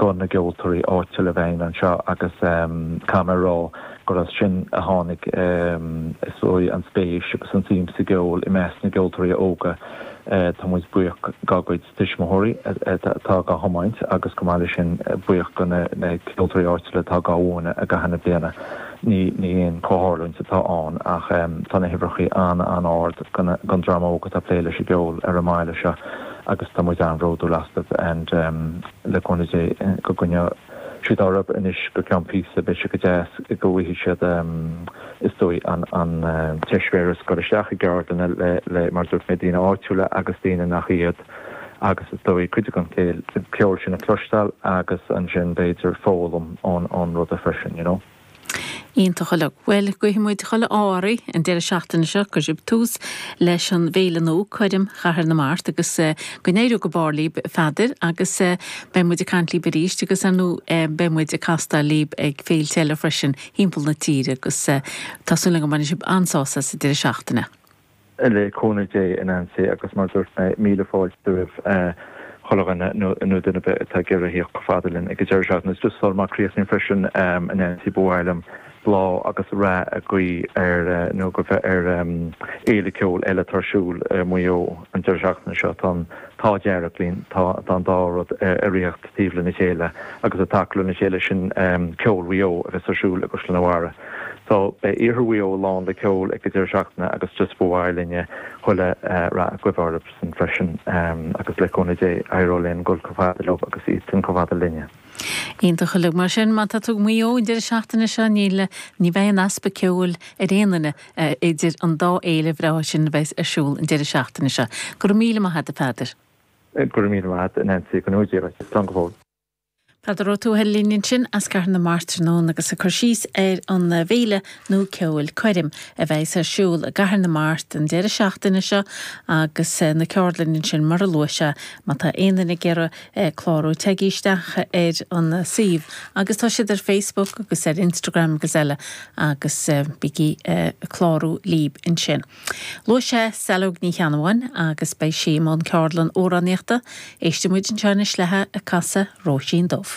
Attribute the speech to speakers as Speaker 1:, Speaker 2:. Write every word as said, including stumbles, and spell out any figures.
Speaker 1: go na gceoltóirí áitiúla a bheith anseo agus caithfidh mé a rá gur as sin a tháinig is dóigh an spéis agus an tsuim sa gceol i measc na gceoltóirí óga. Tá muid buíoch dá gcuid tuismitheoirí atá á dtiomáint agus chomh maith leis sin buíoch do na ceoltóirí áitiúla atá á múineadh i gcaitheamh na bliana. Ní ní aon chomhtharlúint atá ann ach tá na huimhreacha an-an-ard don dream óg atá ag plé leis an gceol ar an mbaile seo agus tá muid an-bhródúil astu and le cúnamh Dé go gcoinneoidh siad orthu anois go ceann píosa beidh sé go deas go bhfaighidh siad is dóigh an an t-eispéireas dul isteach i gceardlanna le le mar dúirt mé daoine áitiúla agus daoine nach iad agus is dóigh cuid den cheol sin a chloisteáil agus ansin b'fhéidir foghlaim ón ón rud freisin you know.
Speaker 2: Iontach uilig. Bhuel guíonn muid chuile ádh an deireadh seachtaine seo go sibh tús leis an bhféile nua Coirm Chathair na Mart agus uh, go n-éireoidh go barr libh a Pheadair agus uh, beidh muid ag caint libh arís agus nó uh, beidh muid ag castáil libh ag féilte eile freisin timpeall na tíre agus uh, tá súil go mbainfidh sibh an-sásamh sa deireadh seachtaine.
Speaker 1: Le cúnamh Dé a Nancy agus mar dúirt mé míle fáilte roimh chuile dhuine nó duine atá ag iarraidh theacht chomh fada linn ag an deireadh seachtaine. Just sula má chríochnaím freisin a Nancy ba mhaith liom bláth agus rath a ghuí ar nó go bheith ar fhéile ceoil eile ar siúl Maigh Eo an deireadh seachtaine seo tá tá dearg linn tá an dá rud ag rith taobh lena chéile agus atá lena chéile sin ceol Mhaigh Eo agus ar siúl i gCaisleán an Bharraigh. So beidh iarthar Mhaigh Eo lán le ceol ag an deireadh seachtaine agus just ba mhaith linne chuile rath a ghuí orthu freisin agus le cúnamh Dé éireoidh linn dul chomh fada leo agus iad sin chomh fada linne.
Speaker 2: Iontach uilig mar sin má tá tú Maigh Eo an deireadh seachtaine seo níl ní bheidh an easpa ceoil ar aon duine idir an dá fhéile bhreá sin bheith ar siúl an deireadh seachtaine seo. Go raibh míle maith agat a Pheadair.
Speaker 1: Go raibh míle maith agat a Nancy go dtí slán go fóill.
Speaker 2: Peadar Ó Tuathail linn sin as Cathair na Mart tráthnóna agus ag cur síos ar an bhféile nua ceoil Coirm a bheidh ar siúl i gCathair na Mart an deireadh seachtaine seo agus na ceardlanna sin mar a luaigh sé má tá aon duine ag iarraidh clárú téigí isteach ar an suíomh agus tá siad ar Facebook agus ar Instagram agus eile agus bígí clárú libh ansin. Luaigh sé Saileog Ní Cheannabháin agus beidh sí i mbun ceardlann amhránaíochta, éistfidh muid anseo léithi ag casadh Róisín Dubh.